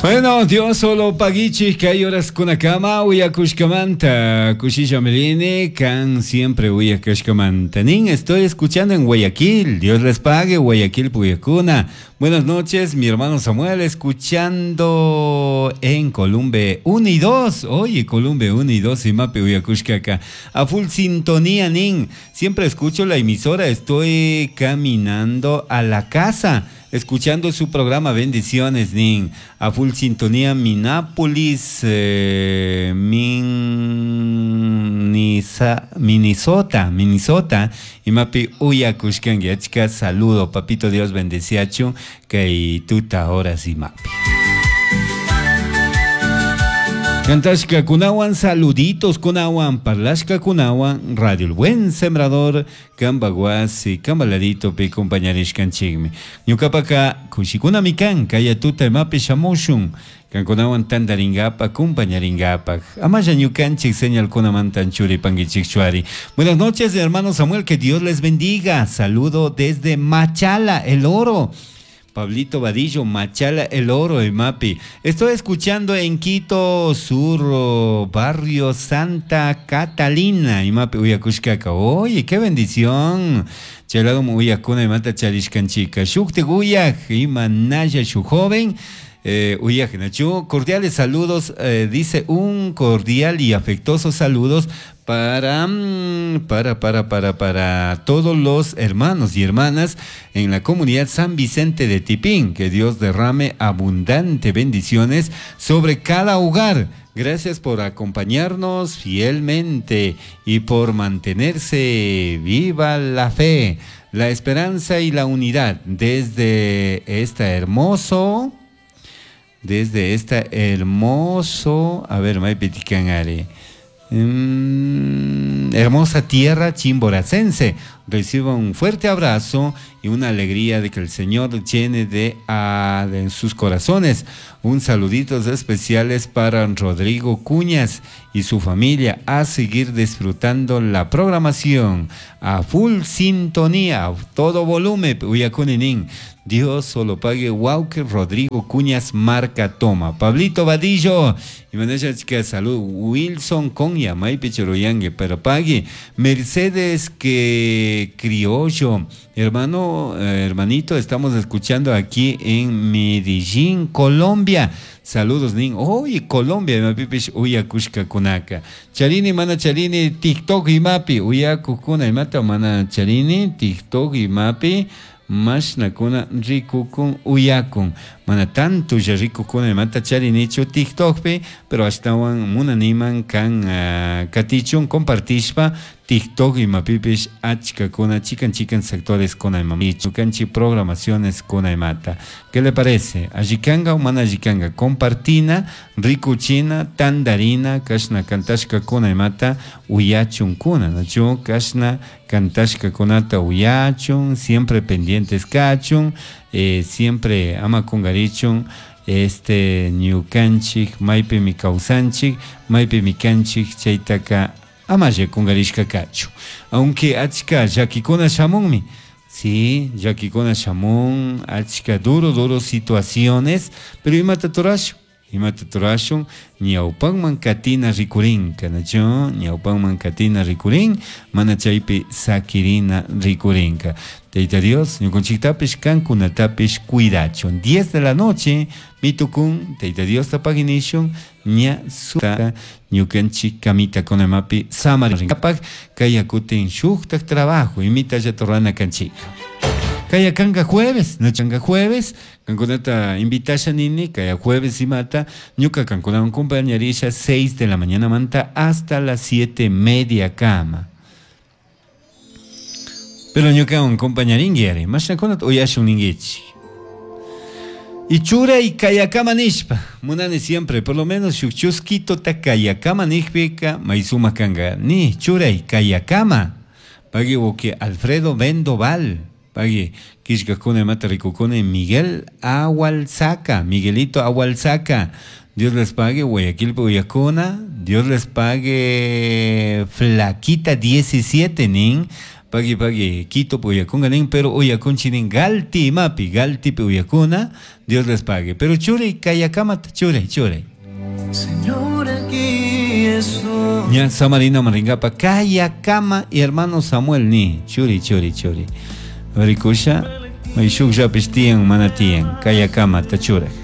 Bueno, Dios solo paguichik kay horaskunakama uyakushkamanta kushilla mirini kan siempre uyakashkamanta nin estoy escuchando en Guayaquil. Dios les pague Guayaquil puyakuna. Buenas noches, mi hermano Samuel, escuchando en Columbe 1 y 2. Oye, Columbe 1 y 2 y mape uyakushkaka. A full sintonía nin. Siempre escucho la emisora, estoy caminando a la casa escuchando su programa. Bendiciones, Nin. A full sintonía, Minneapolis, Minnesota, Minnesota. Y mapi uyakushkangi, achka saludo, papito Dios bendeciachu, kay tuta horas y mapi. Cantashka kunawan, saluditos kunawan, parlashka kunawan, Radio El Buen Sembrador, Kambaguasi, Kambaladito, pi compañarishkanchikmi. Ñukapaka kushikuna mikan, kaya tuta imapi shamushun, kankunawan tandaringapa, compañaringapa. Amaya ñukanchik señal kunamantan churipanguichik chuari. Buenas noches, hermano Samuel, que Dios les bendiga. Saludo desde Machala, El Oro. Pablito Vadillo, Machala, El Oro, Mapi. Estoy escuchando en Quito Sur, barrio Santa Catalina, Imapi, Uyakushkaka. Oye, qué bendición. Chalado Uyakuna, Imata Charishkanchika. Shukte Guyak, Imanaya, su joven. Uyak, Nachu. Cordiales saludos, dice un cordial y afectuoso saludos para todos los hermanos y hermanas en la comunidad San Vicente de Tipín. Que Dios derrame abundante bendiciones sobre cada hogar. Gracias por acompañarnos fielmente y por mantenerse viva la fe, la esperanza y la unidad desde esta hermoso, a ver, hermosa tierra chimboracense. Reciba un fuerte abrazo y una alegría de que el Señor llene de sus corazones. Un saluditos especiales para Rodrigo Cuñas y su familia. A seguir disfrutando la programación a full sintonía, a todo volumen. Uyakuninin. Dios solo pague. Walker Rodrigo Cuñas marca toma. Pablito Vadillo y maneja chica salud. Wilson Conya, Maipe Choroyangue, pero pague. Mercedes que Criollo, hermano, hermanito, estamos escuchando aquí en Medellín, Colombia. Saludos, nin. Oye, Colombia, mapipish uyakushka kunaka. Charini, mana charini, TikTok y mapi. Uyakukuna, imata, mana charini, TikTok y mapi. Mashnakuna rikukun uyakun. Mana tanto ya rikukuna imata charinichu TikTokpi, pero ashtawan munaniman kan katichun compartishpa TikTok imapipish achkakuna chikan chikan sectores kuna imamichu kanchi programaciones kuna imata. ¿Qué le parece? Allikanga o mana allikanga? Compartina, rikuchina, tandarina, kashna kantashka kuna imata uyachun kuna, nachu kashna kantashka kunata uyachun, siempre pendientes kachun, siempre ama kungarichun, ñukanchik, maypi mi kawsanchik, maypi mi kanchik, chaytaka amalle kungarishka kachu. Aunque achka llakikuna shamunmi. Sí, llakikuna shamun, achka duro situaciones, pero imata turashun, imata turashun, ñawpanman katina rikurinka, nachu, ñawpanman katina rikurin, mana chaypi sakirina rikurinka. Tayta Dios, ñukanchiktapish kankunatapish cuidachun. 10 de la noche, mitukun, Tayta Dios tapaginishun, ña suta ñukanchik kamita kunamapi samarinkapak, kayakutin shuktak trabajo, imita yatorrana kanchik. Kaya kanga jueves, no changa jueves, kankunata invitasha nini, kaya jueves y mata, ñuka kankunawan compañerisha 6 de la mañana manta hasta las 7:30 kama. Pero ñuka un compañaringi mashakunat uyashun ningichi. Y chura y kayakama nishpa, munani siempre, por lo menos shukchusquito ta kayakama nishpika, maizuma kanga, ni chura y kayakama. Pagui woke Alfredo Vendoval, pagui kishkakune mata rikukune Miguel Agualzaca, Miguelito Agualzaca. Dios les pague, Guayaquil Uyacuna, Dios les pague Flaquita 17, nin. Pagui pagui Quito uyakunga nin, pero uyakunchi nin Galti imapi, Galtipi uyakuna, Dios les pague. Pero churay kayakamata, churay, churay. Señor, aquí estoy. Ña Samarina maringapa kayakama y hermano Samuel ni, churi, churi, churi. Rikusha, may shukllapish tiyan, mana tiyan, kayakamata churay.